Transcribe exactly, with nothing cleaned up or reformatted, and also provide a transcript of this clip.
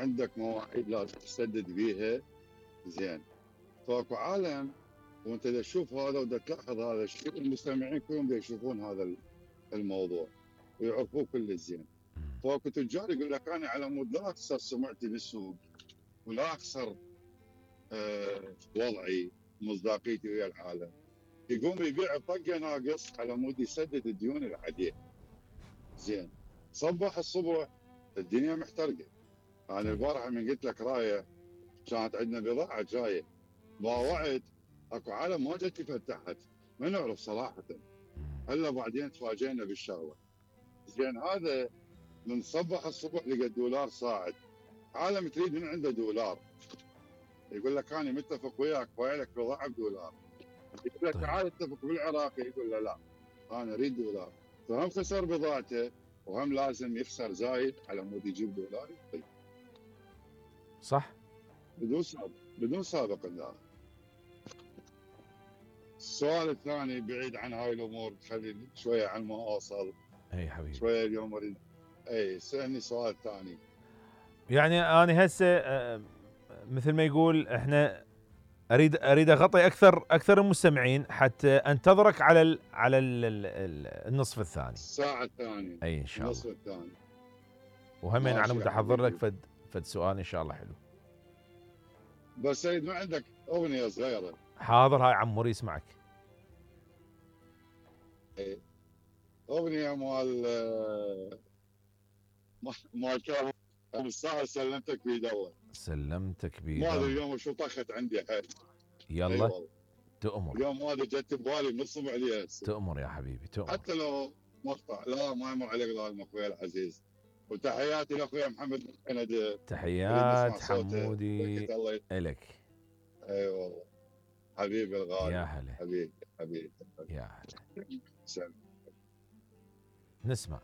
عندك مواعيد لازم تسدد بيها زين. فاكو عالم وانت دا تشوف هذا ودا تلاحظ هذا الشيء، المستمعين كلهم دا يشوفون هذا الموضوع ويعرفوه كل زين. فاكو تجار يقول لك انا على مود لا اخسر سمعتي بالسوق ولا اخسر أه وضعي مصداقيتي ويا العالم، يقوم يبيع طقه ناقص على مود يسدد الديون اللي عليه. زين صبح الصبح الدنيا محترقه. انا البارحه من قلت لك رايه كانت عندنا بضاعه جايه باوعت اكو عالم ما جت فتحت ما نعرف صراحه، هلا بعدين تفاجئنا بالشغله. زين هذا من صبح الصبح لقى الدولار صاعد، عالم تريد من عنده دولار يقول لك انا متفق وياك بايع لك بضاعه بدولار، يقول لك طيب. تعال اتفق بالعراق، يقول له لا انا اريد دولار، فهم خسر بضاعته وهم لازم يخسر زايد على مود يجيب دولار يعطيه. صح. بدون سابق بدون سابق النار. السؤال الثاني بعيد عن هاي الامور، خليني شويه عن ما اوصل. اي حبيبي. شويه اليوم اريد اي سالني سؤال ثاني. يعني انا هسه آه، مثل ما يقول احنا اريد اريد اغطي اكثر اكثر المستمعين حتى انتظرك على ال على ال ال النصف الثاني، الساعه الثانيه اي ان شاء النصف الله. الثاني. وهمين انا ماشي يا متحضر لك حبيبي. فد فد سؤال ان شاء الله حلو. بس سيد ما عندك اغنيه صغيره؟ حاضر، هاي عموري يسمعك. اي اغنيه مال آه، مال كان الساعه سلمتك بيد الله. سلمتك بيد ما ادري الله. اليوم شو طخت عندي حيل. اي يلا والله تؤمر اليوم هذا جت ببالي نصب عليها هسه. تؤمر يا حبيبي تؤمر. حتى لو مقطع لا ما يمر عليك ظالم اخوي العزيز. وتحياتي لاخوي محمد من كندا. تحيات حمودي الله الك. اي والله حبيبي الغالي. يا هلا حبيبي حبيبي يا هلا. سلام. نسمع.